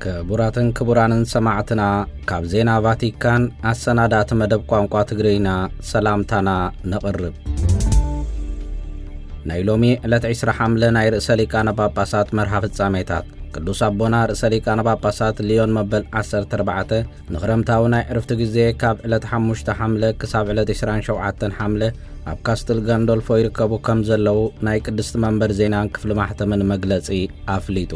ክቡራትን ክቡራንን ሰማዕትና፣ ካብ ዜና ቫቲካን ኣሰናዳእቲ መደብ ቋንቋ ትግርኛ ሰላምታና ነቕርብ። ናይ ሎሚ ዕለት ዕስራ ሓምለ ናይ ርእሰ ሊቃነ ጳጳሳት መርሃ ፍጻሜታት። ቅዱስ ኣቦና ርእሰ ሊቃነ ጳጳሳት ሊዮን መበል ዓሰርተ ኣርባዕተ ንኽረምታዊ ናይ ዕርፍቲ ግዜ ካብ ዕለት ሓሙሽተ ሓምለ ክሳብ ዕለት ዕስራን ሸውዓተን ሓምለ ኣብ ካስትል ጋንዶልፎ ይርከቡ ከም ዘለዉ ናይ ቅድስቲ መንበር ዜናን ክፍሊ ማሕተምን መግለጺ ኣፍሊጡ።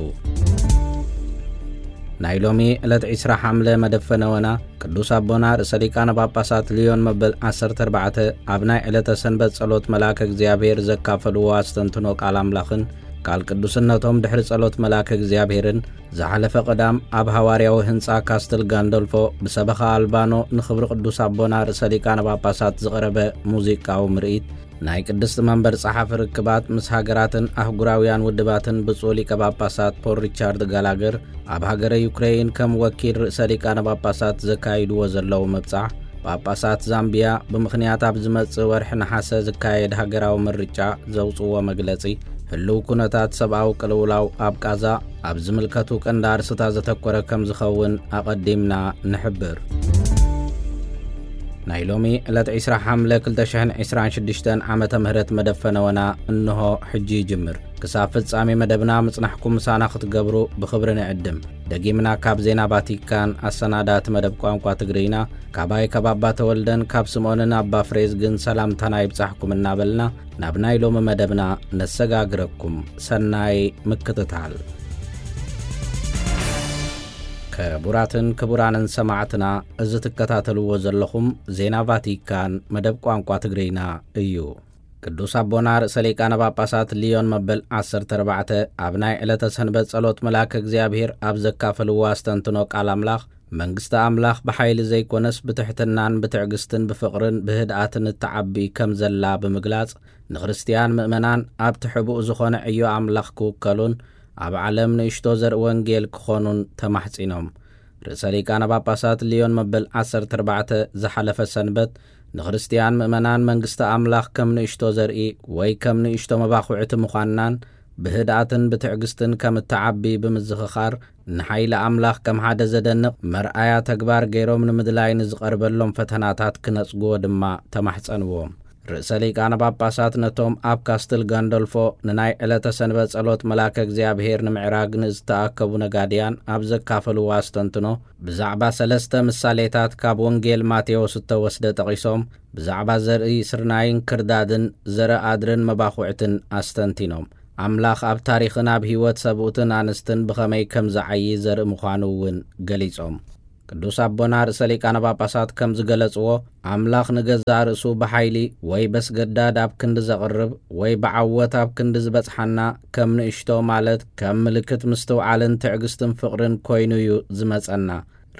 ናይ ሎሚ ዕለት ዕስራ ሓምለ መደብ ፈነወና ቅዱስ ኣቦና ርእሰ ሊቃነ ጳጳሳት ሊዮን መበል ዓሰርተ ኣርባዕተ ኣብ ናይ ዕለተ ሰንበት ጸሎት መልኣከ እግዚኣብሔር ዘካፈልዎ ኣስተንትኖ ቃል ኣምላኽን ቃል ቅዱስነቶም ድሕሪ ጸሎት መልኣከ እግዚኣብሔርን ዝሓለፈ ቀዳም ኣብ ሃዋርያዊ ህንጻ ካስትል ጋንዶልፎ ብሰበኻ ኣልባኖ ንኽብሪ ቅዱስ ኣቦና ርእሰ ሊቃነ ጳጳሳት ዝቐረበ ሙዚቃዊ ምርኢት፣ ናይ ቅድስቲ መንበር ጸሓፊ ርክባት ምስ ሃገራትን ኣህጉራውያን ውድባትን ብፁዕ ሊቀ ጳጳሳት ፖል ሪቻርድ ጋላገር ኣብ ሃገረ ዩክሬይን ከም ወኪል ርእሰ ሊቃነ ጳጳሳት ዘካይድዎ ዘለዉ ምብጻሕ፣ ጳጳሳት ዛምቢያ ብምኽንያት ኣብ ዝመጽእ ወርሒ ነሓሰ ዝካየድ ሃገራዊ ምርጫ ዘውጽእዎ መግለጺ፣ ህልው ኩነታት ሰብኣዊ ቅልውላው ኣብ ቃዛ ኣብ ዝምልከቱ ቀንዲ ኣርስታት ዘተኮረ ከም ዝኸውን ኣቐዲምና ንሕብር። ናይ ሎሚ ዕለት ዕስራ ሓምለ ክልተ ሽሕን ዕስራን ሽዱሽተን ዓመተ ምህረት መደብ ፈነወና እንሆ ሕጂ ይጅምር። ክሳብ ፍጻሜ መደብና ምጽናሕኩም ምሳና ክትገብሩ ብኽብሪ ንዕድም። ደጊምና ካብ ዜና ቫቲካን ኣሰናዳእቲ መደብ ቋንቋ ትግርኛ፣ ካባይ ካብ ኣባ ተወልደን ካብ ስምኦንን ኣባ ፍሬዝግን ሰላምታና ይብጻሕኩም እናበልና፣ ናብ ናይ ሎሚ መደብና ነሰጋግረኩም። ሰናይ ምክትታል። ክቡራትን ክቡራንን ሰማዕትና፣ እዚ ትከታተልዎ ዘለኹም ዜና ቫቲካን መደብ ቋንቋ ትግርኛ እዩ። ቅዱስ ኣቦና ርእሰ ሊቃነ ጳጳሳት ሊዮን መበል ዓሰርተ ኣርባዕተ ኣብ ናይ ዕለተ ሰንበት ጸሎት መልኣከ እግዚኣብሔር ኣብ ዘካፈልዎ ኣስተንትኖ ቃል ኣምላኽ፣ መንግስቲ ኣምላኽ ብሓይሊ ዘይኮነስ ብትሕትናን ብትዕግስትን ብፍቕርን ብህድኣትን እትዓቢ ከም ዘላ ብምግላጽ፣ ንክርስትያን ምእመናን ኣብቲ ሕቡእ ዝኾነ ዕዮ ኣምላኽ ክውከሉን ኣብ ዓለም ንእሽቶ ዘርኢ ወንጌል ክኾኑን ተማሕጺኖም። ርእሰ ሊቃነ ጳጳሳት ሊዮን መበል ዓሰርተ ኣርባዕተ ዝሓለፈ ሰንበት ንክርስትያን ምእመናን መንግስቲ ኣምላኽ ከም ንእሽቶ ዘርኢ ወይ ከም ንእሽቶ መባኹዕቲ ምዃንናን ብህድኣትን ብትዕግስትን ከም እትዓቢ ብምዝኽኻር፣ ንሓይሊ ኣምላኽ ከም ሓደ ዘደንቕ መርኣያ ተግባር ገይሮም ንምድላይ ንዝቐርበሎም ፈተናታት ክነጽግዎ ድማ ተማሕጸንዎም። ርእሰ ሊቃነ ጳጳሳት ነቶም ኣብ ካስትል ጋንዶልፎ ንናይ ዕለተ ሰንበት ጸሎት መልኣከ እግዚኣብሔር ንምዕራግ ንዝተኣከቡ ነጋድያን ኣብ ዘካፈልዎ ኣስተንትኖ፣ ብዛዕባ ሰለስተ ምሳሌታት ካብ ወንጌል ማቴዎስ እተወስደ ጠቒሶም፣ ብዛዕባ ዘርኢ ስርናይን ክርዳድን፣ ዘርኢ ኣድርን መባኹዕትን ኣስተንቲኖም። ኣምላኽ ኣብ ታሪኽን ኣብ ህይወት ሰብኡትን ኣንስትን ብኸመይ ከም ዝዓዪ ዘርኢ ምዃኑ እውን ገሊጾም። ቅዱስ ኣቦና ርእሰ ሊቃነ ጳጳሳት ከም ዝገለጽዎ፣ ኣምላኽ ንገዛእ ርእሱ ብሓይሊ ወይ በስገዳድ ኣብ ክንዲ ዘቕርብ ወይ ብዓወት ኣብ ክንዲ ዝበጽሓና፣ ከም ንእሽቶ ማለት ከም ምልክት ምስትውዓልን ትዕግስትን ፍቕርን ኮይኑ እዩ ዝመጸና።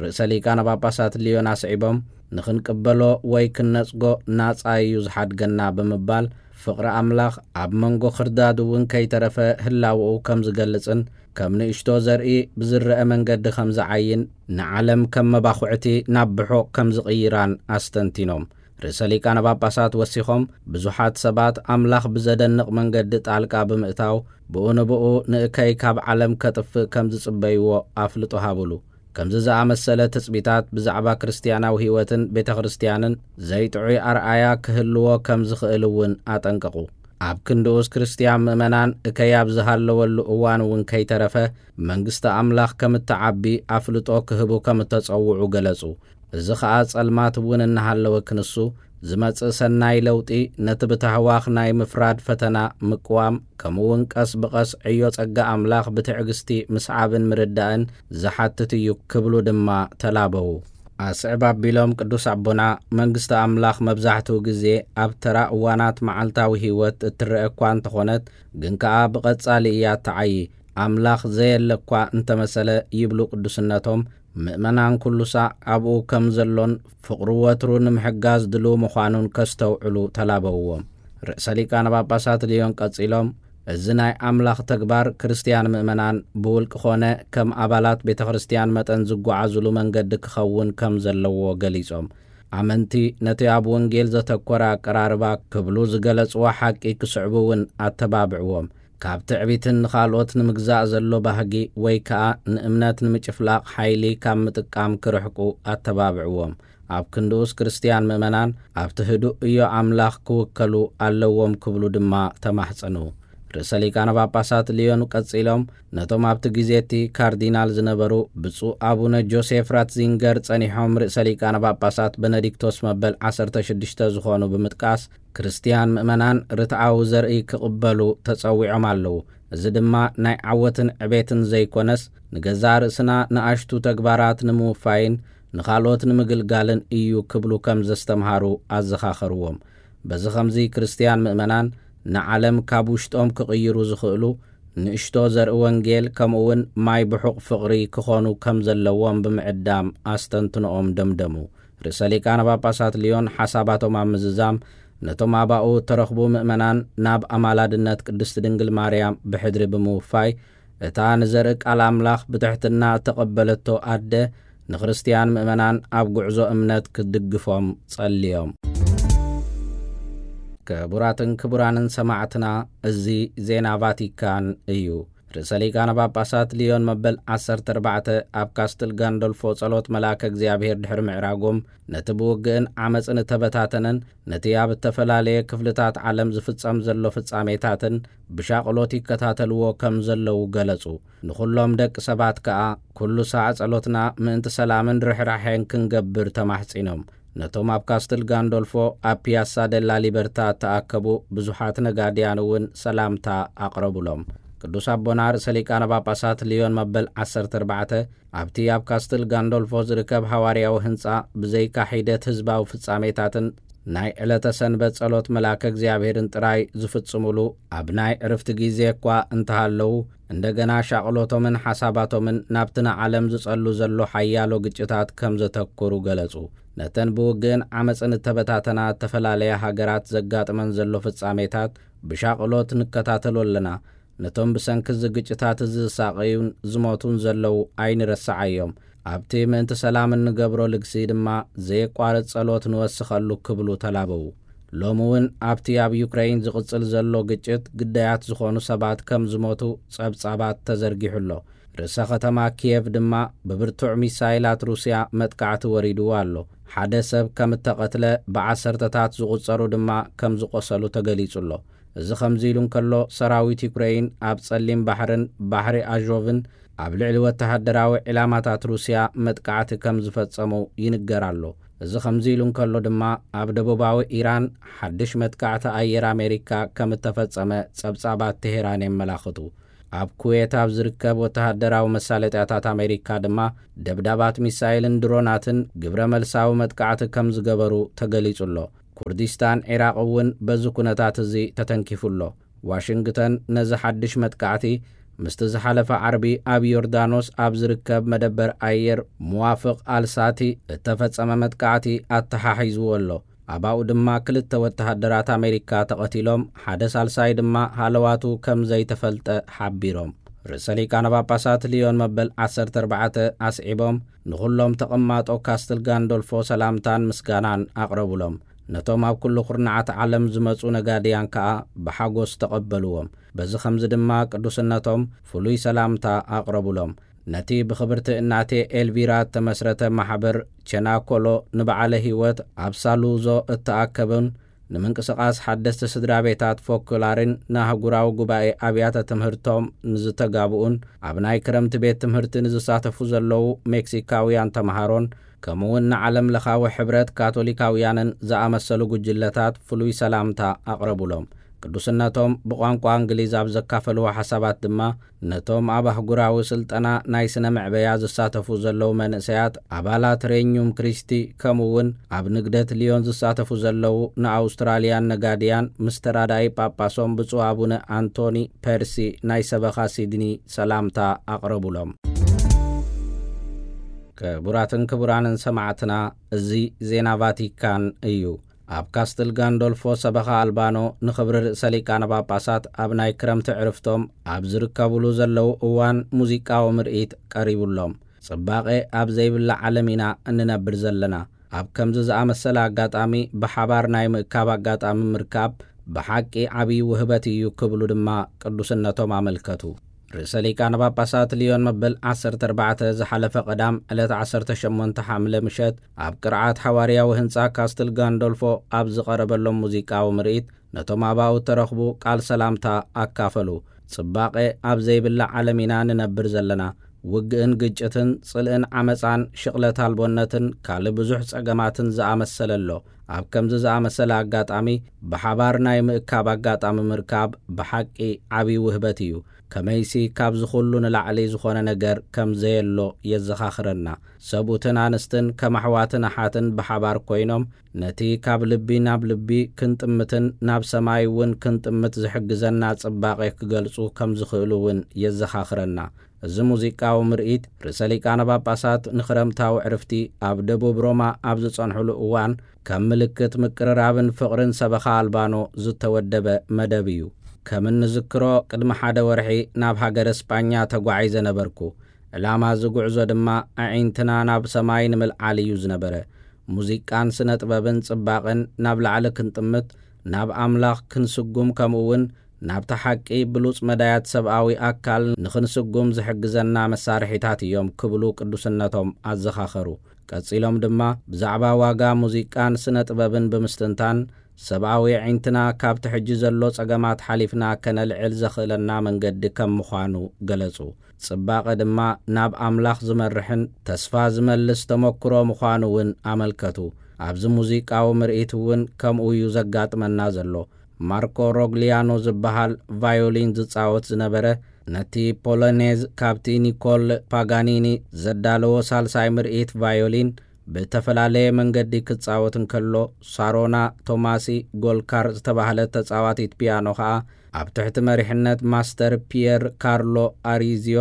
ርእሰ ሊቃነ ጳጳሳት ሊዮን ኣስዒቦም፣ ንኽንቅበሎ ወይ ክንነጽጎ ናጻ እዩ ዝሓድገና ብምባል፣ ፍቕሪ ኣምላኽ ኣብ መንጎ ክርዳድ እውን ከይተረፈ ህላወኡ ከም ዝገልጽን ከም ንእሽቶ ዘርኢ ብዝረአ መንገዲ ከም ዝዓይን፣ ንዓለም ከም መባኹዕቲ ናብ ብሖ ከም ዝቕይራን ኣስተንቲኖም። ርእሰ ሊቃነ ጳጳሳት ወሲኾም፣ ብዙሓት ሰባት ኣምላኽ ብዘደንቕ መንገዲ ጣልቃ ብምእታው፣ ብኡ ንብኡ ንእከይ ካብ ዓለም ከጥፍእ ከም ዝጽበይዎ ኣፍልጦ ሃቡሉ። ከምዚ ዝኣመሰለ ትጽቢታት ብዛዕባ ክርስትያናዊ ህይወትን ቤተ ክርስትያንን ዘይጥዑይ ኣርኣያ ክህልዎ ከም ዝኽእል እውን ኣጠንቀቑ። ኣብ ክንድኡስ ክርስትያን ምእመናን እከይ ኣብ ዝሃለወሉ እዋን እውን ከይተረፈ መንግስቲ ኣምላኽ ከም እትዓቢ ኣፍልጦ ክህቡ ከም እተጸውዑ ገለጹ። እዚ ኸኣ ጸልማት እውን እናሃለወ ክንሱ ዝመጽእ ሰናይ ለውጢ ነቲ ብታህዋኽ ናይ ምፍራድ ፈተና ምቅዋም፣ ከምኡ እውን ቀስ ብቐስ ዕዮ ጸጋ ኣምላኽ ብትዕግስቲ ምስዓብን ምርዳእን ዝሓትት እዩ ክብሉ ድማ ተላበዉ። ኣስዕብ ኣቢሎም ቅዱስ ኣቦና፣ መንግስቲ ኣምላኽ መብዛሕትኡ ግዜ ኣብ ተራ እዋናት መዓልታዊ ህይወት እትረአ እኳ እንተኾነት፣ ግን ከኣ ብቐጻሊ እያ እትዓዪ። ኣምላኽ ዘየለ እኳ እንተመሰለ ይብሉ ቅዱስነቶም፣ ምእመናን ኩሉ ሳዕ ኣብኡ ከም ዘሎን ፍቕሩ ወትሩ ንምሕጋዝ ድሉው ምዃኑን ከስተውዕሉ ተላበውዎም። ርእሰ ሊቃነ ጳጳሳት ልዮን ቀጺሎም፣ እዚ ናይ ኣምላኽ ተግባር ክርስትያን ምእመናን ብውልቂ ኾነ ከም ኣባላት ቤተ ክርስትያን መጠን ዝጓዓዙሉ መንገዲ ክኸውን ከም ዘለዎ ገሊጾም፣ ኣመንቲ ነቲ ኣብ ወንጌል ዘተኮረ ኣቀራርባ ክብሉ ዝገለጽዎ ሓቂ ክስዕቡ እውን ኣተባብዕዎም። ካብ ትዕቢትን ንኻልኦት ንምግዛእ ዘሎ ባህጊ ወይ ከኣ ንእምነት ንምጭፍላቕ ሓይሊ ካብ ምጥቃም ክርሕቁ ኣተባብዕዎም። ኣብ ክንድኡስ ክርስትያን ምእመናን ኣብቲ ህዱእ እዮ ኣምላኽ ክውከሉ ኣለዎም ክብሉ ድማ ተማሕጸኑ። ርእሰ ሊቃነ ጳጳሳት ልዮን ቀጺሎም ነቶም ኣብቲ ግዜ እቲ ካርዲናል ዝነበሩ ብፁዕ ኣቡነ ጆሴፍ ራትዚንገር ጸኒሖም ርእሰ ሊቃነ ጳጳሳት በነዲክቶስ መበል ዓሰርተ ሽዱሽተ ዝኾኑ ብምጥቃስ ክርስትያን ምእመናን ርትዓዊ ዘርኢ ክቕበሉ ተጸዊዖም ኣለዉ። እዚ ድማ ናይ ዓወትን ዕቤትን ዘይኮነስ ንገዛእ ርእስና ንኣሽቱ ተግባራት ንምውፋይን ንኻልኦት ንምግልጋልን እዩ ክብሉ ከም ዘስተምሃሩ ኣዘኻኸርዎም። በዚ ኸምዚ ክርስትያን ምእመናን ንዓለም ካብ ውሽጦም ክቕይሩ ዝኽእሉ ንእሽቶ ዘርኢ ወንጌል ከምኡ እውን ማይ ብሑቕ ፍቕሪ ክኾኑ ከም ዘለዎም ብምዕዳም ኣስተንትኖኦም ደምደሙ። ርእሰ ሊቃነ ጳጳሳት ልዮን ሓሳባቶም ኣብ ምዝዛም ነቶም ኣባኡ እተረኽቡ ምእመናን ናብ ኣማላድነት ቅድስቲ ድንግል ማርያም ብሕድሪ ብምውፋይ እታ ንዘርኢ ቃል ኣምላኽ ብትሕትና እተቐበለቶ ኣደ ንክርስትያን ምእመናን ኣብ ጉዕዞ እምነት ክትድግፎም ጸልዮም። ክቡራትን ክቡራንን ሰማዕትና፣ እዚ ዜና ቫቲካን እዩ። ርእሰ ሊቃነ ጳጳሳት ልዮን መበል ዓሰርተ ኣርባዕተ ኣብ ካስትል ጋንዶልፎ ጸሎት መልኣከ እግዚኣብሔር ድሕሪ ምዕራጎም፣ ነቲ ብውግእን ዓመጽን እተበታተነን ነቲ ኣብ እተፈላለየ ክፍልታት ዓለም ዝፍጸም ዘሎ ፍጻሜታትን ብሻቕሎት ይከታተልዎ ከም ዘለዉ ገለጹ። ንኹሎም ደቂ ሰባት ከኣ ኩሉ ሳዕ ጸሎትና ምእንቲ ሰላምን ርሕራሐን ክንገብር ተማሕጺኖም። ነቶም ኣብ ካስትል ጋንዶልፎ ኣብ ፒያሳ ደላ ሊበርታ እተኣከቡ ብዙሓት ነጋድያን እውን ሰላምታ ኣቕረቡሎም። ቅዱስ ኣቦና ርእሰ ሊቃነ ጳጳሳት ልዮን መበል ዓሰርተ ኣርባዕተ ኣብቲ ኣብ ካስትል ጋንዶልፎ ዝርከብ ሃዋርያዊ ህንጻ ብዘይካ ሒደት ህዝባዊ ፍጻሜታትን ናይ ዕለተ ሰንበት ጸሎት መልኣከ እግዚኣብሔርን ጥራይ ዝፍጽሙሉ፣ ኣብ ናይ ዕርፍቲ ግዜ እኳ እንተሃለዉ፣ እንደገና ሻቕሎቶምን ሓሳባቶምን ናብቲ ንዓለም ዝጸሉ ዘሎ ሓያሎ ግጭታት ከም ዘተኩሩ ገለጹ። ነተን ብውግእን ዓመጽን እተበታተና እተፈላለያ ሃገራት ዘጋጥመን ዘሎ ፍጻሜታት ብሻቕሎት ንከታተሎ ኣለና። ነቶም ብሰንኪ እዚ ግጭታት እዚ ዝሳቐዩን ዝሞቱን ዘለዉ ኣይንረስዓዮም። ኣብቲ ምእንቲ ሰላም እንገብሮ ልግሲ ድማ ዘየቋርጽ ጸሎት ንወስኸሉ ክብሉ ተላበዉ። ሎሚ እውን ኣብቲ ኣብ ዩክረይን ዝቕጽል ዘሎ ግጭት ግዳያት ዝኾኑ ሰባት ከም ዝሞቱ ጸብጻባት ተዘርጊሑ ኣሎ። ርእሰ ከተማ ኪየቭ ድማ ብብርቱዕ ሚሳይላት ሩስያ መጥቃዕቲ ወሪድዎ ኣሎ። ሓደ ሰብ ከም እተቐትለ ብዓሰርተታት ዝቑጸሩ ድማ ከም ዝቖሰሉ ተገሊጹ ኣሎ። እዚ ከምዚ ኢሉ እንከሎ፣ ሰራዊት ዩክረይን ኣብ ጸሊም ባሕርን ባሕሪ ኣዦቭን ኣብ ልዕሊ ወተሃደራዊ ዒላማታት ሩስያ መጥቃዕቲ ከም ዝፈጸሙ ይንገር ኣሎ። እዚ ከምዚ ኢሉ እንከሎ ድማ፣ ኣብ ደቡባዊ ኢራን ሓድሽ መጥቃዕቲ ኣየር ኣሜሪካ ከም እተፈጸመ ጸብጻባት ቴሄራን የመላኽቱ። ኣብ ኩዌት ኣብ ዝርከብ ወተሃደራዊ መሳለጥያታት ኣሜሪካ ድማ ደብዳባት ሚሳይልን ድሮናትን ግብረ መልሳዊ መጥቃዕቲ ከም ዝገበሩ ተገሊጹ ኣሎ። ኩርዲስታን ዒራቕ እውን በዚ ኩነታት እዚ ተተንኪፉ ኣሎ። ዋሽንግተን ነዚ ሓድሽ መጥቃዕቲ ምስቲ ዝሓለፈ ዓርቢ ኣብ ዮርዳኖስ ኣብ ዝርከብ መደበር ኣየር ሙዋፍቕ ኣልሳቲ እተፈጸመ መጥቃዕቲ ኣተሓሒዝዎ ኣሎ። ኣባኡ ድማ ክልተ ወተሃደራት ኣሜሪካ ተቐቲሎም፣ ሓደ ሳልሳይ ድማ ሃለዋቱ ከም ዘይተፈልጠ ሓቢሮም። ርእሰ ሊቃነ ጳጳሳት ልዮን መበል ዓሰርተ ኣርባዕተ ኣስዒቦም፣ ንኹሎም ተቐማጦ ካስትል ጋንዶልፎ ሰላምታን ምስጋናን ኣቕረቡሎም። ነቶም ኣብ ኩሉ ኩርናዓት ዓለም ዝመጹ ነጋድያን ከኣ ብሓጎስ ተቐበልዎም። በዚ ኸምዚ ድማ ቅዱስነቶም ፍሉይ ሰላምታ ኣቕረቡሎም። ነቲ ብኽብርቲ እናቴ ኤልቪራ እተመስረተ ማሕበር ቸናኮሎ ንበዓለ ህይወት ኣብ ሳሉዞ እተኣከቡን ንምንቅስቓስ ሓደስቲ ስድራ ቤታት ፎኩላርን ንኣህጉራዊ ጉባኤ ኣብያተ ትምህርቶም ንዝተጋብኡን ኣብ ናይ ክረምቲ ቤት ትምህርቲ ንዝሳተፉ ዘለዉ ሜክሲካውያን ተምሃሮን ከምኡውን ንዓለም ለኻዊ ሕብረት ካቶሊካውያንን ዝኣመሰሉ ጉጅለታት ፍሉይ ሰላምታ ኣቕረቡሎም። ቅዱስነቶም ብቋንቋ እንግሊዝ ኣብ ዘካፈልዎ ሓሳባት ድማ ነቶም ኣብ ኣህጉራዊ ስልጠና ናይ ስነ መዕበያ ዝሳተፉ ዘለዉ መንእሰያት ኣባላት ሬኙም ክሪስቲ ከምኡ እውን ኣብ ንግደት ሊዮን ዝሳተፉ ዘለዉ ንኣውስትራልያን ነጋድያን ምስ ተራዳኢ ጳጳሶም ብፁዕ ኣቡነ ኣንቶኒ ፐርሲ ናይ ሰበኻ ሲድኒ ሰላምታ ኣቕረቡሎም። ክቡራትን ክቡራንን ሰማዕትና፣ እዚ ዜና ቫቲካን እዩ። ኣብ ካስትል ጋንዶልፎ ሰበኻ ኣልባኖ ንኽብሪ ርእሰ ሊቃነ ጳጳሳት ኣብ ናይ ክረምቲ ዕርፍቶም ኣብ ዝርከቡሉ ዘለዉ እዋን ሙዚቃዊ ምርኢት ቀሪቡሎም። ጽባቐ ኣብ ዘይብላ ዓለም ኢና እንነብር ዘለና። ኣብ ከምዚ ዝኣመሰለ ኣጋጣሚ ብሓባር ናይ ምእካብ ኣጋጣሚ ምርካብ ብሓቂ ዓብዪ ውህበት እዩ ክብሉ ድማ ቅዱስነቶም ኣመልከቱ። ርእሰ ሊቃነ ጳጳሳት ሊዮን መበል ዓሰርተ ኣርባዕተ ዝሓለፈ ቀዳም ዕለት ዓሰርተ ሸሞንተ ሓምለ ምሸት ኣብ ቅርዓት ሓዋርያዊ ህንጻ ካስትል ጋንዶልፎ ኣብ ዝቐረበሎም ሙዚቃዊ ምርኢት ነቶም ኣባኡ ተረኽቡ ቃል ሰላምታ ኣካፈሉ። ጽባቐ ኣብ ዘይብላ ዓለም ኢና ንነብር ዘለና። ውግእን ግጭትን ጽልእን ዓመጻን ሽቕለት ኣልቦነትን ካልእ ብዙሕ ጸገማትን ዝኣመሰለ ኣሎ። ኣብ ከምዚ ዝኣመሰለ ኣጋጣሚ ብሓባር ናይ ምእካብ ኣጋጣሚ ምርካብ ብሓቂ ዓብዪ ውህበት እዩ። ከመይሲ ካብዚ ኩሉ ንላዕሊ ዝኾነ ነገር ከም ዘየሎ የዘኻኽረና። ሰብኡትን ኣንስትን ከም ኣሕዋትን ኣሓትን ብሓባር ኮይኖም ነቲ ካብ ልቢ ናብ ልቢ ክንጥምትን ናብ ሰማይ እውን ክንጥምት ዝሕግዘና ጽባቐ ክገልጹ ከም ዝኽእሉ እውን የዘኻኽረና። እዚ ሙዚቃዊ ምርኢት ርእሰ ሊቃነ ጳጳሳት ንኽረምታዊ ዕርፍቲ ኣብ ደቡብ ሮማ ኣብ ዝጸንሕሉ እዋን ከም ምልክት ምቅርራብን ፍቕርን ሰበኻ ኣልባኖ ዝተወደበ መደብ እዩ። ከም እንዝክሮ ቅድሚ ሓደ ወርሒ ናብ ሃገረ ስጳኛ ተጓዒዘ ነበርኩ። ዕላማ እዚ ጉዕዞ ድማ ኣዒንትና ናብ ሰማይ ንምልዓል እዩ ዝነበረ። ሙዚቃን ስነ ጥበብን ጽባቕን ናብ ላዕሊ ክንጥምት፣ ናብ ኣምላኽ ክንስጉም፣ ከምኡ እውን ናብታ ሓቂ ብሉጽ መዳያት ሰብኣዊ ኣካል ንኽንስጉም ዝሕግዘና መሳርሒታት እዮም ክብሉ ቅዱስነቶም ኣዘኻኸሩ። ቀጺሎም ድማ ብዛዕባ ዋጋ ሙዚቃን ስነ ጥበብን ብምስትንታን፣ ሰብኣዊ ኣዒንትና ካብቲ ሕጂ ዘሎ ጸገማት ሓሊፍና ከነልዕል ዘኽእለና መንገዲ ከም ምዃኑ ገለጹ። ጽባቐ ድማ ናብ ኣምላኽ ዝመርሕን ተስፋ ዝመልስ ተመክሮ ምዃኑ እውን ኣመልከቱ። ኣብዚ ሙዚቃዊ ምርኢት እውን ከምኡ እዩ ዘጋጥመና ዘሎ። ማርኮ ሮግሊያኖ ዝበሃል ቫዮሊን ዝጻወት ዝነበረ፣ ነቲ ፖሎኔዝ ካብቲ ኒኮል ፓጋኒኒ ዘዳለዎ ሳልሳይ ምርኢት ቫዮሊን ብእተፈላለየ መንገዲ ክጻወት እንከሎ፣ ሳሮና ቶማሲ ጎልካር ዝተባህለት ተጻዋቲት ፒያኖ ከኣ ኣብ ትሕቲ መሪሕነት ማስተር ፒየር ካርሎ ኣሪዝዮ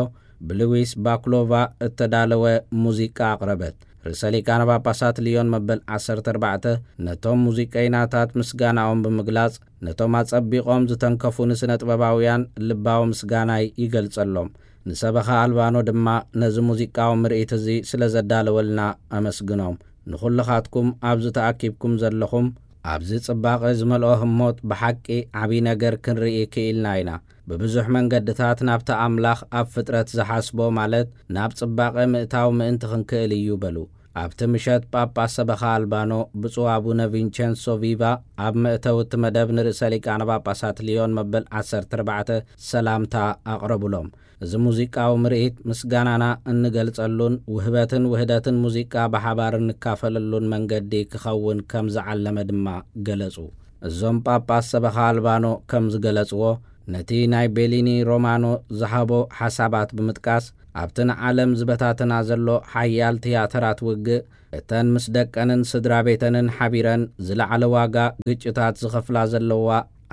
ብሉዊስ ባክሎቫ እተዳለወ ሙዚቃ ኣቕረበት። ርእሰ ሊቃነ ጳጳሳት ልዮን መበል ዓሰርተ ኣርባዕተ ነቶም ሙዚቀይናታት ምስጋናኦም ብምግላጽ፣ ነቶም ኣጸቢቖም ዝተንከፉ ንስነ ጥበባውያን ልባዊ ምስጋናይ ይገልጸሎም። ንሰበኻ ኣልባኖ ድማ ነዚ ሙዚቃዊ ምርኢት እዚ ስለ ዘዳለወልና ኣመስግኖም። ንኹልኻትኩም ኣብዚ ተኣኪብኩም ዘለኹም፣ ኣብዚ ጽባቐ ዝመልኦ ህሞት ብሓቂ ዓቢ ነገር ክንርኢ ክኢልና ኢና። ብብዙሕ መንገድታት ናብቲ ኣምላኽ ኣብ ፍጥረት ዝሓስቦ፣ ማለት ናብ ጽባቐ ምእታው ምእንቲ ክንክእል እዩ በሉ። ኣብቲ ምሸት ጳጳስ ሰበኻ ኣልባኖ ብፁዕ ኣቡነ ቪንቸንሶ ቪቫ ኣብ መእተዊ እቲ መደብ ንርእሰ ሊቃነ ጳጳሳት ልዮን መበል ዓሰርተ ኣርባዕተ ሰላምታ ኣቕረቡሎም። እዚ ሙዚቃዊ ምርኢት ምስጋናና እንገልጸሉን ውህበትን ውህደትን ሙዚቃ ብሓባር እንካፈለሉን መንገዲ ክኸውን ከም ዝዓለመ ድማ ገለጹ። እዞም ጳጳስ ሰበኻ ኣልባኖ ከም ዝገለጽዎ፣ ነቲ ናይ ቤሊኒ ሮማኖ ዝሃቦ ሓሳባት ብምጥቃስ፣ ኣብቲ ንዓለም ዝበታትና ዘሎ ሓያል ትያተራት ውግእ፣ እተን ምስ ደቀንን ስድራ ቤተንን ሓቢረን ዝለዓለ ዋጋ ግጭታት ዝኸፍላ ዘለዋ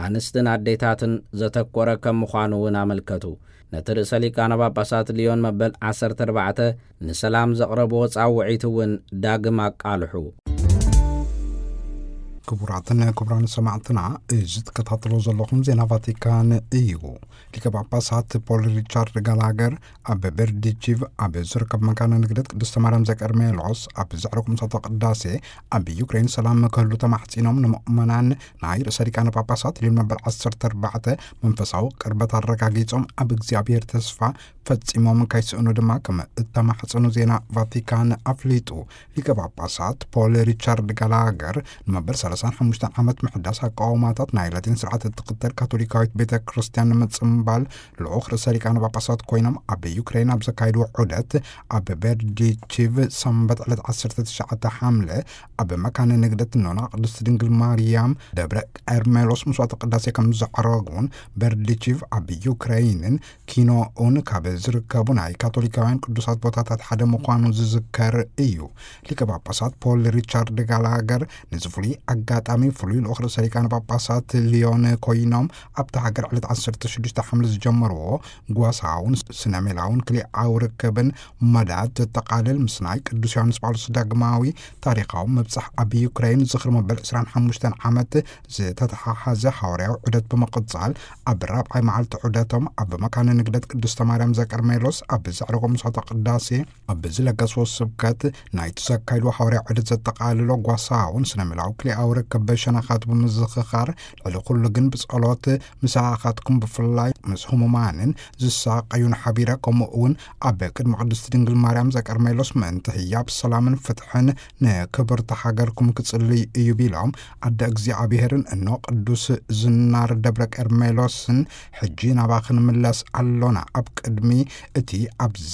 ኣንስትን ኣዴታትን ዘተኮረ ከም ምዃኑ እውን ኣመልከቱ። ነቲ ርእሰ ሊቃነ ጳጳሳት ልዮን መበል ዓሰርተ ኣርባዕተ ንሰላም ዘቕረብዎ ጻውዒት እውን ዳግም ኣቃልሑ። ክቡራትን ክቡራን ሰማዕትና፣ እዚ ትከታተሎ ዘለኹም ዜና ቫቲካን እዩ። ሊቀ ጳጳሳት ፖል ሪቻርድ ጋላገር ኣብ ቤርዲቺቭ ኣብ ዝርከብ መካነ ንግደት ቅድስተ ማርያም ዘቀርሜሎስ ኣብ ዘዕረጉ ምሳተ ቅዳሴ፣ ኣብ ዩክሬን ሰላም ክህሉ ተማሕጺኖም፣ ንምእመናን ናይ ርእሰ ሊቃነ ጳጳሳት ልዮን መበል ዓሰርተ ኣርባዕተ መንፈሳዊ ቅርበት ኣረጋጊጾም፣ ኣብ እግዚኣብሔር ተስፋ ፈጺሞም ከይስእኑ ድማ ከም እተማሕጸኑ ዜና ቫቲካን ኣፍሊጡ። ሊቀ ጳጳሳት ፖል ሪቻርድ ጋላገር ንመበል ሰላሳን ሓሙሽተን ዓመት ምሕዳስ ኣቃውማታት ናይ ላቲን ስርዓት እትኽተል ካቶሊካዊት ቤተ ክርስቲያን ንምጽምባል ልኡኽ ርእሰ ሊቃነ ጳጳሳት ኮይኖም ኣብ ዩክሬን ኣብ ዘካየድዎ ዑደት፣ ኣብ ቤርዲቺቭ ሰንበት ዕለት ዓሰርተ ትሽዓተ ሓምለ ኣብ መካነ ንግደት ኖና ቅድስት ድንግል ማርያም ደብረ ቀርሜሎስ መስዋዕተ ቅዳሴ ከም ዘዕረጉን፣ ቤርዲቺቭ ኣብ ዩክሬንን ኪኖኡን ካብ ዝርከቡ ናይ ካቶሊካውያን ቅዱሳት ቦታታት ሓደ ምዃኑ ዝዝከር እዩ። ሊቀ ጳጳሳት ፖል ሪቻርድ ጋላገር ነዚ ፍሉይ ኣጋጣሚ ፍሉይ ልኡኽ ርእሰ ሊቃነ ጳጳሳት ልዮን ኮይኖም ኣብታ ሃገር ዕለት ዓሰርተ ሽዱሽተ ሓምለ ዝጀመርዎ ጓሳውን ስነ ሜላውን ክልኤኣዊ ርክብን መዳት ዘጠቓልል፣ ምስ ናይ ቅዱስ ዮሃንስ ጳውሎስ ዳግማዊ ታሪኻዊ ምብጻሕ ኣብ ዩክሬን ዝኽሪ መበል ዕስራን ሓሙሽተን ዓመት ዝተተሓሓዘ ሃዋርያዊ ዑደት ብምቕጻል፣ ኣብ ራብዓይ መዓልቲ ዑደቶም ኣብ መካነ ንግደት ቅድስተ ማርያም ዘቀርሜሎስ ኣብ ዘዕረጎ መስዋዕተ ቅዳሴ ኣብ ዝለገስዎ ስብከት፣ ናይቲ ዘካየድዎ ሃዋርያዊ ዑደት ዘጠቓልሎ ጓሳውን ስነ ሜላዊ ክልኤኣዊ ርክብ ሸነኻት ብምዝኽኻር፣ ልዕሊ ኩሉ ግን ብጸሎት ምሳኻትኩም፣ ብፍላይ ምስ ህሙማንን ዝሳቐዩን ሓቢረ፣ ከምኡ እውን ኣብ ቅድሚ ቅድስቲ ድንግል ማርያም ዘቀርሜሎስ ምእንቲ ህያብ ሰላምን ፍትሕን ንክብርቲ ሃገርኩም ክጽልይ እዩ ቢሎም፣ ኣደ እግዚኣብሔርን እኖ ቅዱስ ዝናር ደብረ ቀርሜሎስን ሕጂ ናባኺ ንምለስ ኣሎና። ኣብ ቅድሚ እቲ ኣብዚ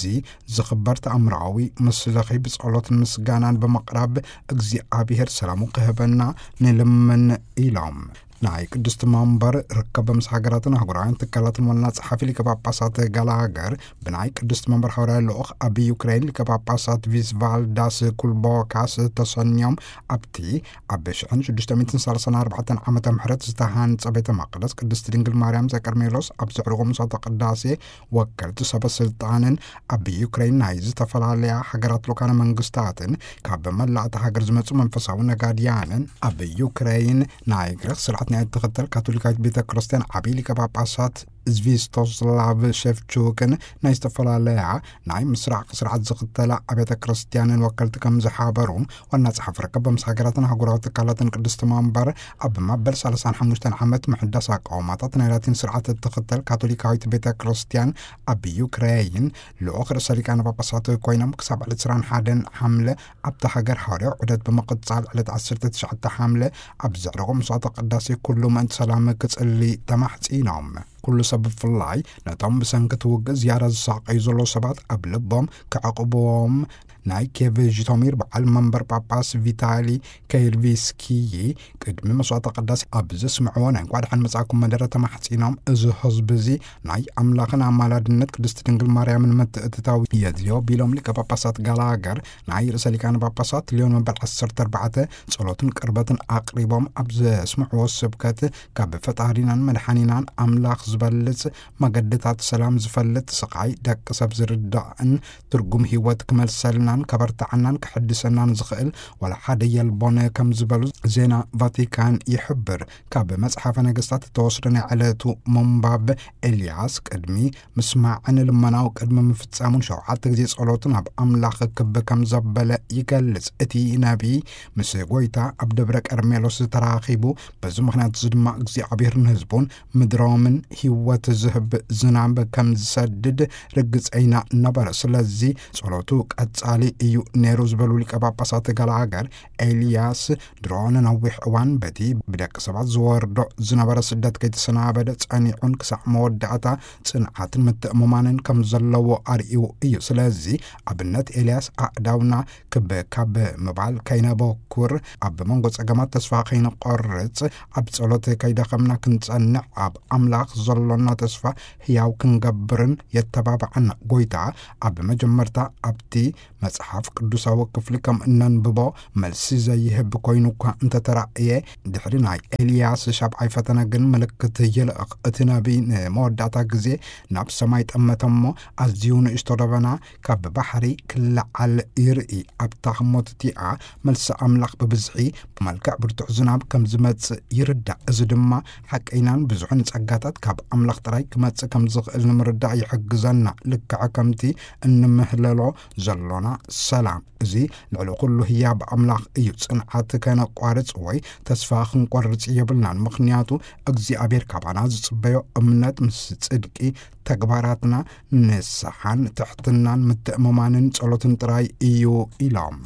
ዝኽበር ተኣምራዊ ምስልኺ ብጸሎትን ምስጋናን ብምቕራብ እግዚኣብሔር ሰላሙ ክህበና ንልምን ኢሎም። ናይ ቅድስቲ መንበር ርክብ ምስ ሃገራትን ኣህጉራውያን ትካላትን ዋና ጸሓፊ ሊቀ ጳጳሳት ጋላገር ብናይ ቅድስቲ መንበር ሓዋርያ ልኡኽ ኣብ ዩክሬን ሊቀ ጳጳሳት ቪስቫልዳስ ኩልቦካስ ተሰንዮም ኣብቲ ኣብ ሽሕን ሽዱሽተ ሚእትን ሰላሳን ኣርባዕተን ዓመተ ምሕረት ዝተሃንጸ ቤተ መቕደስ ቅድስቲ ድንግል ማርያም ዘቀርሜሎስ ኣብ ዘዕርጎ ምሳተ ቅዳሴ ወከልቲ ሰበ ስልጣንን ኣብ ዩክሬን ናይ ዝተፈላለያ ሃገራት ልኡካነ መንግስታትን ካብ መላእቲ ሃገር ዝመጹ መንፈሳዊ ነጋድያንን ኣብ ዩክሬን ናይ ግሪኽ ስርዓት ናይ እትኽተል ካቶሊካዊት ቤተ ክርስቲያን ዓብዪ ሊቀ ጳጳሳት ዝቪስቶስላቭ ሸፍቹክን ናይ ዝተፈላለያ ናይ ምስራቕ ስርዓት ዝኽተላ ኣብያተ ክርስቲያንን ወከልቲ ከም ዝሓበሩ ዋና ጸሓፊ ርክብ ምስ ሃገራትን ኣህጉራዊ ትካላትን ቅድስቲ መንበር ኣብ መበል ሰላሳን ሓሙሽተን ዓመት ምሕዳስ ኣቃውማታት ናይ ላቲን ስርዓት እትኽተል ካቶሊካዊት ቤተ ክርስቲያን ኣብ ዩክሬይን ልኡኽ ርእሰ ሊቃነ ጳጳሳት ኮይኖም ክሳብ ዕለት ዕስራን ሓደን ሓምለ ኣብታ ሃገር ሃዋርያዊ ዑደት ብምቕጻል ዕለት ዓሰርተ ትሽዓተ ሓምለ ኣብ ዘዕረጎ መስዋዕተ ቅዳሴ ኩሉ ምእንቲ ሰላም ክጽሊ ተማሕጺኖም። ኩሉ ሰብ ብፍላይ ነቶም ብሰንኪ እቲ ውግእ ዝያዳ ዝሳቐዩ ዘለዉ ሰባት ኣብ ልቦም ክዕቕብዎም ናይ ኬቭ ዥቶሚር በዓል መንበር ጳጳስ ቪታሊ ከይርቪስኪዪ ቅድሚ መስዋዕተ ቅዳሴ ኣብ ዘስምዕዎ ናይ እንኳዕ ደሓን መጻእኩም መደረ ተማሕጺኖም፣ እዚ ህዝቢ እዚ ናይ ኣምላኽን ኣማላድነት ቅድስቲ ድንግል ማርያምን ምትእትታው የድልዮ ቢሎም ሊቀ ጳጳሳት ጋላገር ናይ ርእሰ ሊቃነ ጳጳሳት ሊዮን መበል ዓሰርተ ኣርባዕተ ጸሎትን ቅርበትን ኣቕሪቦም ኣብ ዘስምዕዎ ስብከት ካብ ፈጣሪናን መድሓኒናን ኣምላኽ ዝበልጽ መገድታት ሰላም ዝፈልጥ ስቓይ ደቂ ሰብ ዝርዳእን ትርጉም ህይወት ክመልሰልናን ከበርትዓናን ክሕድሰናን ዝኽእል ዋላ ሓደ የልቦን ከም ዝበሉ ዜና ቫቲካን ይሕብር። ካብ መጽሓፈ ነገስታት እተወስደ ናይ ዕለቱ ምንባብ ኤልያስ ቅድሚ ምስማዕን ልመናው ቅድሚ ምፍጻሙን ሸውዓተ ግዜ ጸሎትን ኣብ ኣምላኽ ክብ ከም ዘበለ ይገልጽ። እቲ ነቢይ ምስ ጎይታ ኣብ ደብረ ቀርሜሎስ ተራኺቡ፣ በዚ ምኽንያት እዚ ድማ እግዚኣብሔር ንህዝቡን ምድሮምን ህይወት ዝህብ ዝናብ ከም ዝሰድድ ርግጸይና ነበረ። ስለዚ ጸሎቱ ቀጻሊ እዩ ነይሩ ዝበሉ ሊቀ ጳጳሳት ጋላገር፣ ኤልያስ ድሮ ንነዊሕ እዋን በቲ ብደቂ ሰባት ዝወርዶ ዝነበረ ስደት ከይተሰናበደ ጸኒዑን ክሳዕ መወዳእታ ጽንዓትን ምትእምማንን ከም ዘለዎ ኣርእዩ እዩ። ስለዚ ኣብነት ኤልያስ ኣእዳውና ክብ ካብ ምባል ከይነበኩር፣ ኣብ መንጎ ጸገማት ተስፋ ከይንቆርጽ፣ ኣብ ጸሎት ከይደኸምና ክንጸንዕ፣ ኣብ ኣምላኽ ዘሎና ተስፋ ህያው ክንገብርን የተባብዓና። ጎይታ ኣብ መጀመርታ ኣብቲ መጽሓፍ ቅዱሳዊ ክፍሊ ከም እነንብቦ መልሲ ዘይህብ ኮይኑ እኳ እንተተራእየ፣ ድሕሪ ናይ ኤልያስ ሻብዓይ ፈተነ ግን ምልክት ይልእኽ። እቲ ነቢይ ንመወዳእታ ግዜ ናብ ሰማይ ጠመተ እሞ፣ ኣዝዩ ንእሽቶ ደበና ካብ ባሕሪ ክለዓል ይርኢ። ኣብታ ህሞት እቲኣ መልሲ ኣምላኽ ብብዝሒ ብመልክዕ ብርቱዕ ዝናብ ከም ዝመጽእ ይርዳእ። እዚ ድማ ሓቀይናን ብዙሕን ጸጋታት ካብ ኣምላኽ ጥራይ ክመጽእ ከም ዝኽእል ንምርዳእ ይሕግዘና። ልክዕ ከምቲ እንምህለሎ ዘሎና ሰላም፣ እዚ ልዕሊ ኩሉ ህያብ ኣምላኽ እዩ። ጽንዓት ከነቋርጽ ወይ ተስፋ ክንቆርጽ የብልናን፣ ምኽንያቱ እግዚኣብሔር ካባና ዝጽበዮ እምነት ምስ ጽድቂ ተግባራትና፣ ንስሓን ትሕትናን ምትእምማንን ጸሎትን ጥራይ እዩ ኢሎም።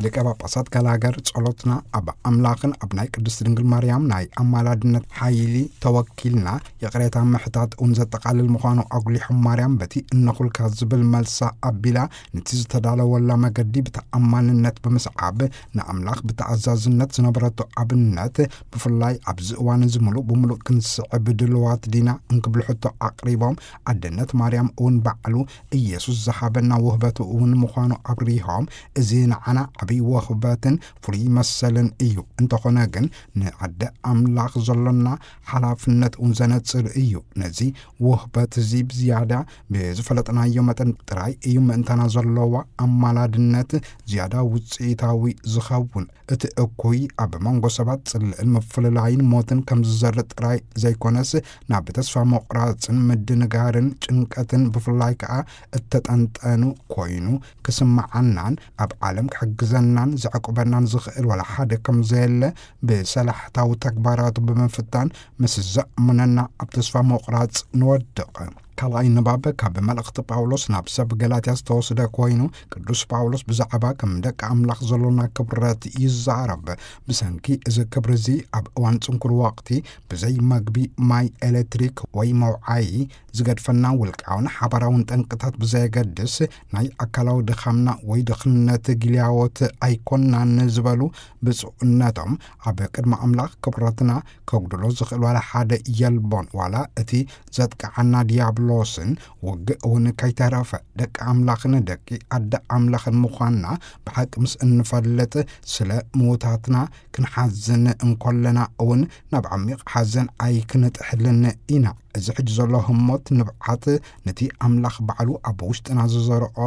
ሊቀ ጳጳሳት ጋላገር ጸሎትና ኣብ ኣምላኽን ኣብ ናይ ቅድስቲ ድንግል ማርያም ናይ ኣማላድነት ሓይሊ ተወኪልና ይቕሬታ ምሕታት እውን ዘጠቓልል ምዃኑ ኣጉሊሖም፣ ማርያም በቲ እነኹልካ ዝብል መልሳ ኣቢላ ነቲ ዝተዳለወላ መገዲ ብተኣማንነት ብምስዓብ ንኣምላኽ ብተኣዛዝነት ዝነበረቶ ኣብነት ብፍላይ ኣብዚ እዋን እዚ ምሉእ ብምሉእ ክንስዕብ ድልዋት ዲና እንክብል ሕቶ ኣቕሪቦም፣ ኣደነት ማርያም እውን ባዕሉ ኢየሱስ ዝሃበና ውህበቱ እውን ምዃኑ ኣብሪሆም፣ እዚ ንዓና ዓብዪ ውህበትን ፍሉይ መሰልን እዩ። እንተኾነ ግን ንዓደ ኣምላኽ ዘሎና ሓላፍነት እውን ዘነጽር እዩ። ነዚ ውህበት እዚ ብዝያዳ ብዝፈለጥናዮ መጠን ጥራይ እዩ ምእንታና ዘለዋ ኣማላድነት ዝያዳ ውጽኢታዊ ዝኸውን። እቲ እኩይ ኣብ መንጎ ሰባት ጽልእን ምፍልላይን ሞትን ከም ዝዘርእ ጥራይ ዘይኮነስ፣ ናብ ተስፋ ምቑራጽን ምድንጋርን ጭንቀትን ብፍላይ ከኣ እተጠንጠኑ ኮይኑ ክስምዓናን ኣብ ዓለም ክሕግዘ ዘዕጥቀናን ዘዕቁበናን ዝኽእል ዋላ ሓደ ከም ዘየለ ብሰላሕታዊ ተግባራቱ ብምፍታን ምስ ዘእሙነና ኣብ ተስፋ ምቑራጽ ንወድቕ። ካልኣይ ንባብ ካብ መልእኽቲ ጳውሎስ ናብ ሰብ ገላትያ ዝተወስደ ኮይኑ፣ ቅዱስ ጳውሎስ ብዛዕባ ከም ደቂ ኣምላኽ ዘሎና ክብረት ይዛረብ። ብሰንኪ እዚ ክብሪ እዚ ኣብ እዋን ጽንኩር ወቕቲ ብዘይ መግቢ፣ ማይ፣ ኤሌክትሪክ ወይ መውዓዪ ዝገድፈና ውልቃውን ሓባራውን ጠንቅታት ብዘየገድስ፣ ናይ ኣካላዊ ድኻምና ወይ ድኽነት ጊልያዎት ኣይኮናን ዝበሉ ብፁዕነቶም፣ ኣብ ቅድሚ ኣምላኽ ክብረትና ከጉድሎ ዝኽእል ዋላ ሓደ የልቦን። ዋላ እቲ ዘጥቅዓና ዲያብሎስን ውግእ እውን ከይተረፈ፣ ደቂ ኣምላኽን ደቂ ኣደ ኣምላኽን ምዃንና ብሓቂ ምስ እንፈልጥ፣ ስለ ምዉታትና ክንሓዝን እንኮለና እውን ናብ ዓሚቕ ሓዘን ኣይክንጥሕልን ኢና። እዚ ሕጂ ዘሎ ህሞት ንብዓት ነቲ ኣምላኽ ባዕሉ ኣብ ውሽጥና ዝዘርኦ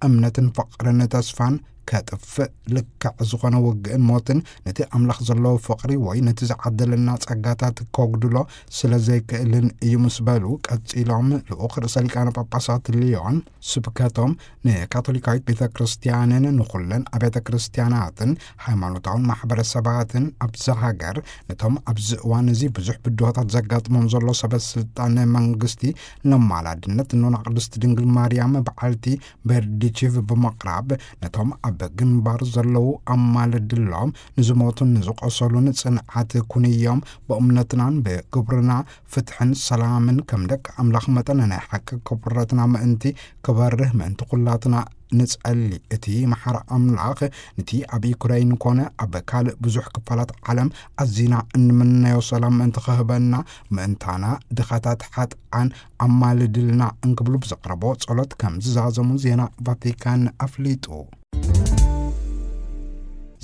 እምነትን ፍቕርን ተስፋን ከጥፍእ፣ ልክዕ ዝኾነ ውግእን ሞትን ነቲ ኣምላኽ ዘለዎ ፍቕሪ ወይ ነቲ ዝዓደለና ጸጋታት ከጉድሎ ስለ ዘይክእልን እዩ ምስ በሉ፣ ቀጺሎም ልኡኽ ርእሰ ሊቃነ ጳጳሳት ሊዮን ስብከቶም ንካቶሊካዊት ቤተ ክርስቲያንን ንኹለን ኣብያተ ክርስቲያናትን ሃይማኖታውን ማሕበረሰባትን ኣብዚ ሃገር፣ ነቶም ኣብዚ እዋን እዚ ብዙሕ ብድሆታት ዘጋጥሞም ዘሎ ሰበ ስልጣን መንግስቲ፣ ነማላድነት ኖና ቅድስቲ ድንግል ማርያም በዓልቲ በርዲቺቭ ብምቕራብ፣ ነቶም ኣብ ግንባር ዘለዉ ኣማልድሎም፣ ንዝሞቱን ንዝቆሰሉን ጽንዓት ኩንዮም፣ ብእምነትናን ብግብርና ፍትሕን ሰላምን ከም ደቂ ኣምላኽ መጠን ናይ ሓቂ ክብረትና ምእንቲ ክበርህ ምእንቲ ኩላትና ንጸሊ። እቲ መሓሪ ኣምላኽ ነቲ ኣብ ዩክረይን ኮነ ኣብ ካልእ ብዙሕ ክፋላት ዓለም ኣዚና እንምነዮ ሰላም ምእንቲ ክህበና፣ ምእንታና ድኻታት ሓጥኣን ኣማልድልና እንክብሉ ብዘቕረቦ ጸሎት ከም ዝዛዘሙ ዜና ቫቲካን ኣፍሊጡ።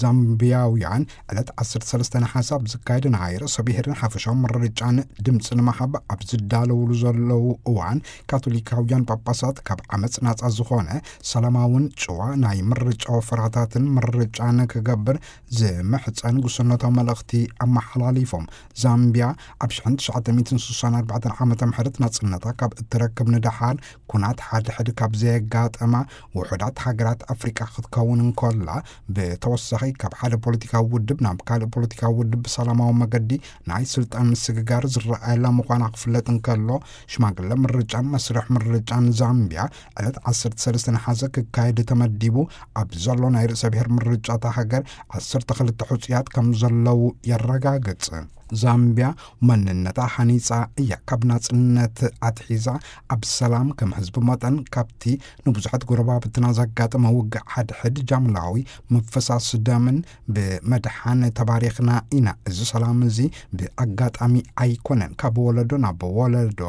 ዛምቢያውያን ዕለት ዓሰርተ ሰለስተ ነሓሰ ኣብ ዝካየድ ናይ ርእሰ ብሔርን ሓፈሻዊ ምርጫን ድምፂ ንምሃብ ኣብ ዝዳለውሉ ዘለዉ እዋን፣ ካቶሊካውያን ጳጳሳት ካብ ዓመፅ ናፃ ዝኾነ ሰላማውን ጭዋ ናይ ምርጫ ወፈራታትን ምርጫን ክገብር ዝምሕፀን ጉስነታዊ መልእኽቲ ኣመሓላሊፎም። ዛምቢያ ኣብ ሽሕን ትሽዓተ ሚእትን ስሳን ኣርባዕተን ዓመተ ምሕረት ናፅነታ ካብ እትረክብ ንደሓር፣ ኩናት ሓድሕድ ካብ ዘየጋጠማ ውሑዳት ሃገራት ኣፍሪቃ ክትከውን እንከላ፣ ብተወሳኺ ካብ ሓደ ፖለቲካዊ ውድብ ናብ ካልእ ፖለቲካዊ ውድብ ብሰላማዊ መገዲ ናይ ስልጣን ምስግጋር ዝረኣየላ ምዃና ክፍለጥ እንከሎ፣ ሽማግለ ምርጫን መስርሕ ምርጫን ዛምቢያ ዕለት ዓሰርተ ሰለስተ ነሓሰ ክካየድ ተመዲቡ ኣብ ዘሎ ናይ ርእሰ ብሔር ምርጫ እታ ሃገር ዓሰርተ ክልተ ሕጹያት ከም ዘለዉ የረጋግጽ። ዛምቢያ መንነታ ሃኒጻ እያ። ካብ ናጽነት ኣትሒዛ ኣብ ሰላም ከም ህዝቢ መጠን ካብቲ ንብዙሓት ጎረባብትና ዘጋጠመ ውግእ ሓድሕድ ጃምላዊ ምፍሳስ ደምን ብመድሓን ተባሪኽና ኢና። እዚ ሰላም እዚ ብኣጋጣሚ ኣይኮነን። ካብ ወለዶ ናብ ወለዶ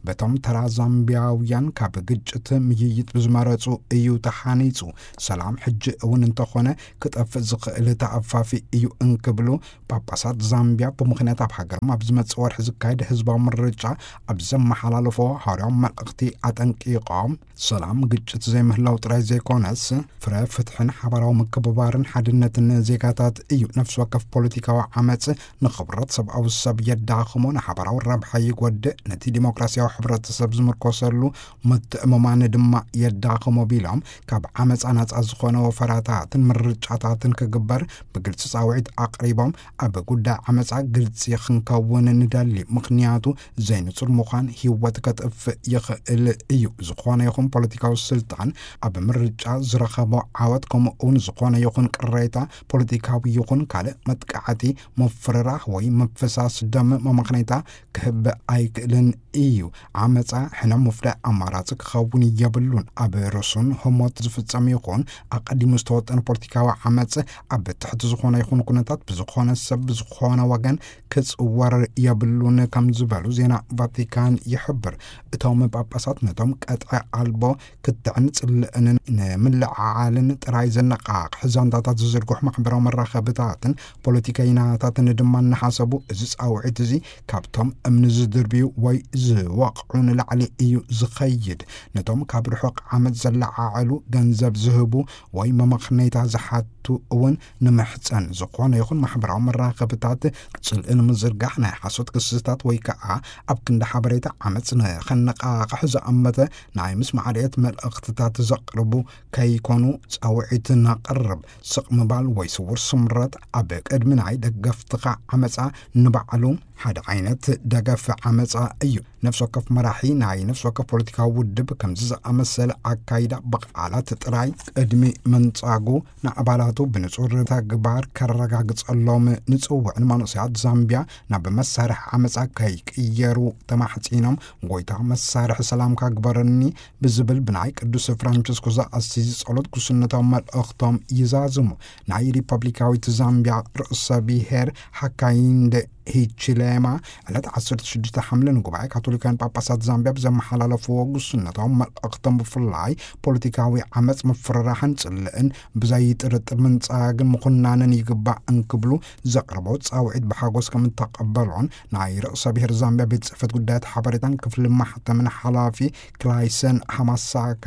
በቶም ተራ ዛምቢያውያን ካብ ግጭት ምይይጥ ብዝመረጹ እዩ ተሃኒጹ። ሰላም ሕጂ እውን እንተኾነ ክጠፍእ ዝኽእል ተኣፋፊ እዩ እንክብሉ ጳጳሳት ዛምቢያ ብምኽንያት ኣብ ሃገሮም ኣብ ዝመጽእ ወርሒ ዝካየድ ህዝባዊ ምርጫ ኣብ ዘመሓላለፎ ሃዋርያዊ መልእኽቲ ኣጠንቂቖም፣ ሰላም ግጭት ዘይምህላው ጥራይ ዘይኮነስ፣ ፍረ ፍትሕን ሓባራዊ ምክብባርን ሓድነትን ዜጋታት እዩ። ነፍሲ ወከፍ ፖለቲካዊ ዓመጽ ንኽብረት ሰብኣዊ ሰብ የዳኽሞ፣ ንሓባራዊ ረብሓ ይጎድእ፣ ነቲ ዲሞክራሲያዊ ሕብረተሰብ ዝምርኮሰሉ ምትእምማን ድማ የዳኽሞ ቢሎም፣ ካብ ዓመጻ ናጻ ዝኾነ ወፈራታትን ምርጫታትን ክግበር ብግልጺ ጻውዒት ኣቕሪቦም፣ ኣብ ጉዳይ ዓመጻ ግልጺ ክንከውን ንደሊ፣ ምኽንያቱ ዘይንጹር ምዃን ህይወት ከጥፍእ ይኽእል እዩ። ዝኾነ ይኹን ፖለቲካዊ ስልጣን ኣብ ምርጫ ዝረኸቦ ዓወት፣ ከምኡ እውን ዝኾነ ይኹን ቅሬታ፣ ፖለቲካዊ ይኹን ካልእ መጥቃዕቲ፣ ምፍርራህ ወይ ምፍሳስ ደም መመኽነይታ ክህብ ኣይክእልን እዩ። ዓመጻ ሕነ ምፍዳይ ኣማራጺ ክኸውን የብሉን። ኣብ ርሱን ህሞት ዝፍጸም ይኹን ኣቐዲሙ ዝተወጠነ ፖለቲካዊ ዓመጽ ኣብ ትሕቲ ዝኾነ ይኹን ኩነታት ብዝኾነ ሰብ ብዝኾነ ወገን ክጽወር የብሉን ከም ዝበሉ ዜና ቫቲካን ይሕብር። እቶም ጳጳሳት ነቶም ቀጥዒ ኣልቦ ክትዕን ጽልእንን ንምልዕዓልን ጥራይ ዘነቓቕሕ ዛንታታት ዝዝርግሑ ማሕበራዊ መራኸብታትን ፖለቲከይናታትን ድማ እናሓሰቡ፣ እዚ ጻውዒት እዚ ካብቶም እምኒ ዝድርብዩ ወይ ዝወቕዑ ንላዕሊ እዩ ዝኸይድ። ነቶም ካብ ርሑቕ ዓመጽ ዘለዓዕሉ፣ ገንዘብ ዝህቡ ወይ መመኽነይታ ዝሓቱ እውን ንምሕጸን። ዝኾነ ይኹን ማሕበራዊ መራኸብታት ጽልእን ምዝርጋሕ ናይ ሓሶት ክስታት ወይ ከዓ ኣብ ክንዲ ሓበሬታ ዓመፅ ንኸነቃቕሕ ዝኣመተ ናይ ምስማዕ ርዕየት መልእኽትታት ዘቕርቡ ከይኮኑ ፃውዒት ነቕርብ። ስቕ ምባል ወይ ስውር ስምረት ኣብ ቅድሚ ናይ ደገፍትኻ ዓመፃ ንባዕሉ ሓደ ዓይነት ደገፍ ዓመፃ እዩ። ነፍሲ ወከፍ መራሒ ናይ ነፍሲ ወከፍ ፖለቲካዊ ውድብ ከምዚ ዝኣመሰለ ኣካይዳ ብቓላት ጥራይ ቅድሚ ምንጻጉ ንኣባላቱ ብንጹር ተግባር ከረጋግጸሎም ንጽውዕ። ንመንእሰያት ዛምቢያ ናብ መሳርሒ ዓመጻ ከይቅየሩ ተማሕጺኖም፣ ጎይታ መሳርሒ ሰላምካ ግበረኒ ብዝብል ብናይ ቅዱስ ፍራንቸስኮ ዘኣሲዚ ጸሎት ጉስነታዊ መልእኽቶም ይዛዝሙ። ናይ ሪፐብሊካዊት ዛምቢያ ርእሰ ብሔር ሃካይንደ ሂቺሌማ ዕለት ዓሰርተ ሽዱሽተ ሓምለ ንጉባኤ ካቶሊካውያን ጳጳሳት ዛምቢያ ብዘመሓላለፍዎ ጉስነታዊ መልእኽቶም ብፍላይ ፖለቲካዊ ዓመፅ፣ ምፍርራሕን ፅልእን ብዘይጥርጥር ምንፃግን ምኹናንን ይግባእ እንክብሉ ዘቕረቦ ፃውዒት ብሓጎስ ከም እተቐበሎን ናይ ርእሰ ብሔር ዛምቢያ ቤት ፅሕፈት ጉዳያት ሓበሬታን ክፍሊ ማሕተምን ሓላፊ ክላይሰን ሃማሳካ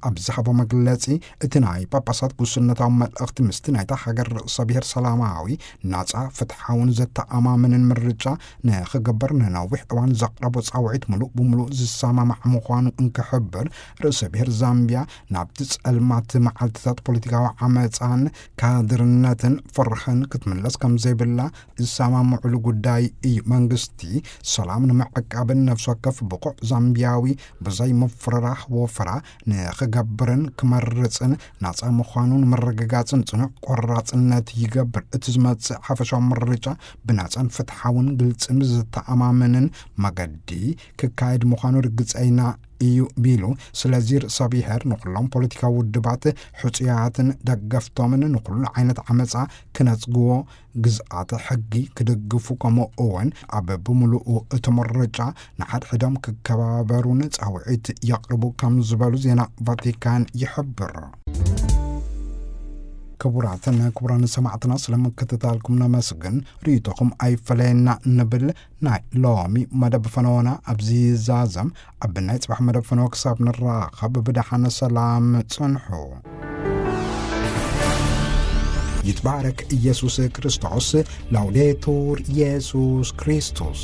ኣብ ዝሃቦ መግለፂ፣ እቲ ናይ ጳጳሳት ጉስነታዊ መልእኽቲ ምስቲ ናይታ ሃገር ርእሰ ብሔር ሰላማዊ፣ ናጻ፣ ፍትሓውን ዘተኣማምንን ምርጫ ንኽገብር ንነዊሕ እዋን ዘቕረቦ ጻውዒት ምሉእ ብምሉእ ዝሰማማዕ ምዃኑ እንክሕብር፣ ርእሰ ብሔር ዛምቢያ ናብቲ ጸልማት መዓልትታት ፖለቲካዊ ዓመጻን ካድርነትን ፍርሕን ክትምለስ ከም ዘይብላ ዝሰማምዕሉ ጉዳይ እዩ። መንግስቲ ሰላም ንምዕቃብን ነፍሲ ወከፍ ብቑዕ ዛምቢያዊ ብዘይ ምፍርራሕ ወፈራ ንኽገብርን ክመርጽን ናጻ ምዃኑ ንምርግጋጽን ጽኑዕ ቆራጽነት ይገብር። እቲ ዝመጽእ ሓፈሻዊ ምርጫ ብናጻን ፍትሓውን ግልጽን ብዝተኣማመንን መገዲ ክካየድ ምዃኑ ርግጸይና እዩ ቢሉ። ስለዚ ርእሰ ብሔር ንኹሎም ፖለቲካዊ ውድባት ሕጹያትን ደገፍቶምን ንኹሉ ዓይነት ዓመጻ ክነጽግዎ፣ ግዝኣተ ሕጊ ክድግፉ፣ ከምኡ እውን ኣብ ብምሉኡ እቲ ምርጫ ንሓድሕዶም ክከባበሩን ጻውዒት የቕርቡ ከም ዝበሉ ዜና ቫቲካን ይሕብር። ክቡራትን ክቡራን ሰማዕትና፣ ስለ ምክትታልኩም ነመስግን። ርእይቶኹም ኣይፈለየና ንብል። ናይ ሎሚ መደብ ፈነወና ኣብዚ ይዛዘም። ኣብ ናይ ጽባሕ መደብ ፈነወ ክሳብ ንራኸብ ብደሓን ሰላም ጽንሑ። ይትባረክ ኢየሱስ ክርስቶስ። ላውዴቱር ኢየሱስ ክርስቶስ።